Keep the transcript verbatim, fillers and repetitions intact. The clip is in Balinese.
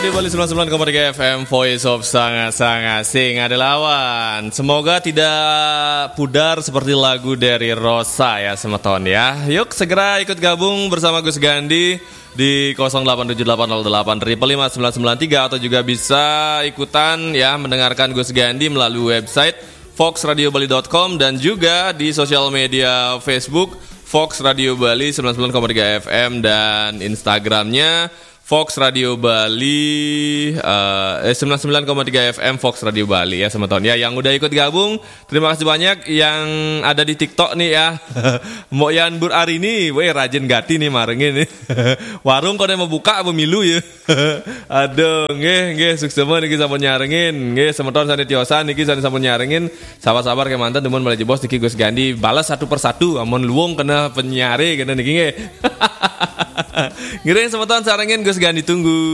Di Bali sembilan sembilan koma tiga F M, Voice of Sanga-Sanga, sing ada lawan. Semoga tidak pudar seperti lagu dari Rosa ya, semeton ya. Yuk segera ikut gabung bersama Gus Gandhi di nol delapan tujuh delapan nol delapan lima lima sembilan sembilan tiga, atau juga bisa ikutan ya, mendengarkan Gus Gandhi melalui website fox radio bali dot com dan juga di sosial media Facebook Fox Radio Bali sembilan sembilan koma tiga F M dan Instagramnya Fox Radio Bali, eh, eh, sembilan sembilan koma tiga F M Fox Radio Bali ya, semeton ya. Yang udah ikut gabung, terima kasih banyak. Yang ada di TikTok nih ya, Mbok Yan Bur Arini, weh, rajin gati nih marengin nih. Warung kok mau buka apa milu ya? Aduh, nggih, nggih, suksema niki sampun nyarengin. Nggih, semeton sane tiosan niki sane sampun nyarengin. Sabar-sabar kemanten, dumun malih jebos niki Gus Gandhi balas satu persatu. Amun luwung kena penyare kena niki nggih. Ngiring semeton sarengin Gus Gandhi tunggu.